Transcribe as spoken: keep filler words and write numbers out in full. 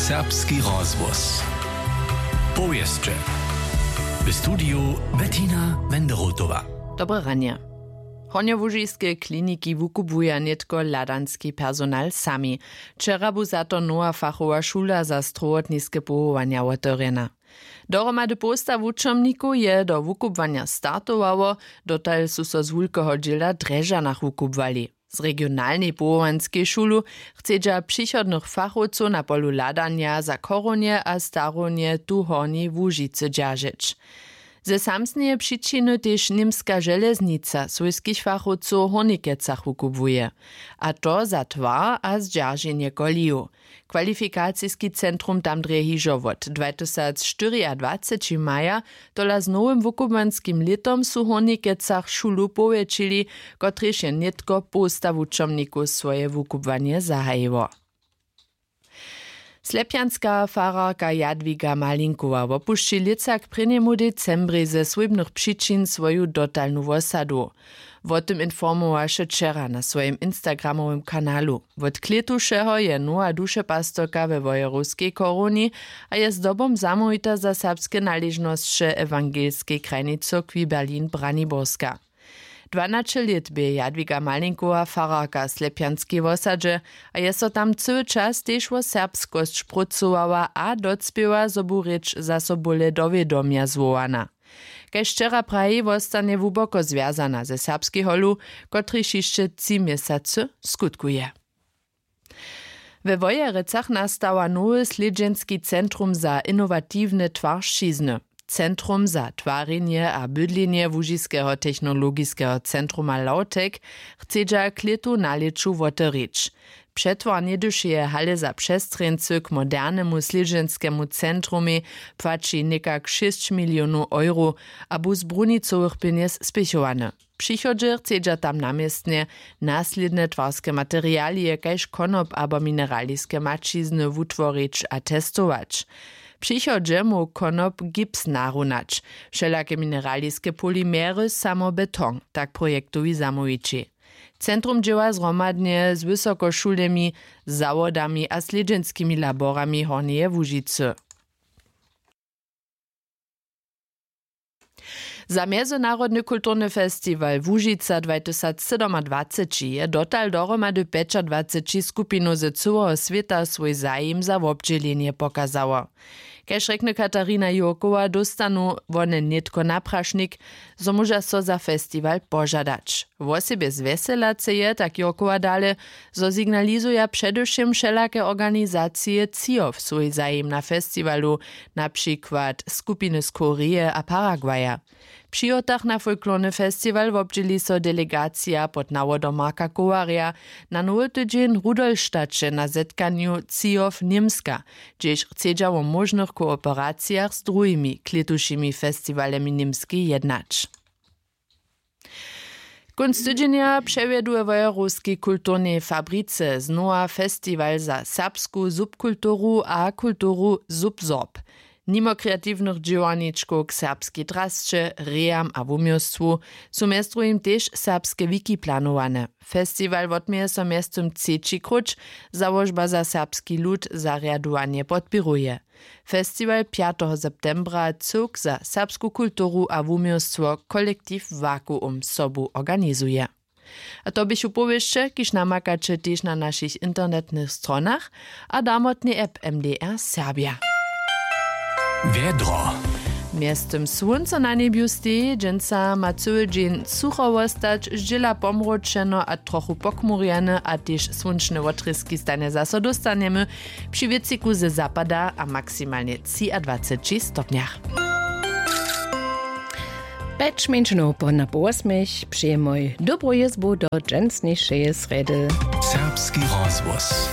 Serbski rozhłos. Powěsće. W studiju Bettina Wenderotowa. Dobre ranje. Hornjołužiske kliniki wukubłuja nětko hladanski personal sami. Wčera bu za to nowa fachowa šula za strowotniske powołanja wotewrjena. Dohromady połsta wučomnikow je do wukubłanja startowało. Dotal su so z wulkeho dźěla w drježdźanach wukubłali. Z regionalnej powołanskej šulu chcedźa přichodnych fachowcow na polu hladanja za chorownje a starownje tu w hornjej łužicy dźeržeć. Ze samsneje přičiny tež němska železnica swójskich fachowcow w hornikecach wukubłuje, a to za twar a zdźerženje kolejow. Kwalifikaciski centrum tam drje hižo wot dwatysacštyriadwaceći maja. Tola z nowym wukubłanskim lětom su w hornikecach šulu powjetšili, kotrež je nětko połsta wučomnikow swoje wukubłanje zahajiło. Slepjanska fararka jadwiga malinkowa wopušći lětsa k prěnjemu decembrej ze swójbnych přičin swoju dotalnu wosadu. Wo tym informowaše wčera na swojim instagramowym kanalu. Wot klětušeho je nowa dušepastorka we wojerowskej chorowni a je zdobom zamołwita za serbske naležnosće ewangelskej krajnej cyrkwi berlin braniborska. Dwanaće lět bě jadwiga malinkowa fararka w slepjanskej wosadźe a je so tam cyły čas tež wo serbskosć prócowała a docpěła zo bu rěč zaso bóle do wědomja zwołana. Kaž wčera praji wostanje hłuboko zwjazana ze serbskej holu, kotryž hišće tři měsacy skutkuje. We wojerecach nastała nowy slědźenski centrum za inowatiwne twaršćizny. Centrum za twarjenje a bydlenje łužiskeho technologiskeho centruma lautek chcedźa k lětu na lěću wotewrić. Přetwar něhdyšeje hale za přestrjeńcy k modernemu slědźenskemu centrumej płaći někak šěsć milionow euro a bu z brunicowych pjenjez spěchowany. Přichodźe chcedźa tam na městnje naslědne twarske materialije kaž konop abo mineraliske maćizny wutworić a testować. Přichodźe móhł konop gips narunać. Wšelake mineraliske polimery samo beton, tak projektowi zamołwići. Centrum dźěła zhromadnje z wysokošulemi, zawodami a slědźenskimi laborami hornjeje łužicy. Za mjezynarodny kulturny festiwal łužica dwatysacsydomadwaceći je dotal dohromady pjećadwaceći skupinow ze cyłeho swěta swój zajim za wobdźělenje pokazało. Kaž rjekny katarina jurkowa dóstanu wone nětko na prašnik, zo móža so za festiwal požadać. Wosebje zwjeselace je tak jurkowa dale, zo signalizuja předewšěm wšelake organizacije třijo swój zajim na festiwalu, na přikład skupiny z koreje a paraguaya. Při hotach na folklorny festiwal wobdźěli so delegacija pod nawodom marka kowarja na nowy tydźeń w rudolstaće na zetkanju třijo němska, hdźež chcedźa wo móžnych kooperacijach z druhimi klětušimi festiwalemi němskej jednać. Kónc tydźenja přewjedu we wojerowskej kulturnej fabrice znowa festiwal za serbsku subkulturu a kulturu subsorb. Nimo kreatiwnych dźěłarničkow k serbskej drasće, rejam a wuměłstwu su mjez druhim tež serbske wiki planowane. Festiwal wotměje so mjeztym třeći króć, załožba za serbski lud zarjadowanje podpěruje. Festiwal pjateho septembra cyłk za serbsku kulturu a wuměłstwo kolektiw vakuum sobu organizuje. A to běchu powěsće, kiž namakaće tež na našich internetnych stronach a damotnej app mdr serbja. Wjedro. Mjeztym słónco na njebju steji, dźensa ma cyły dźeń sucho wostać, zdźěla pomróčeno a trochu pochmurjene a tež słónčne wotrězki stanje zaso dóstanjemy při wětřiku ze zapada a maksimalnje třiadwaceći stopnjach. Pjeć mjeńšinow po na po wosmich přijemoj dobru jězbu do dźensnišeje srjedy. Serbski rozhłos.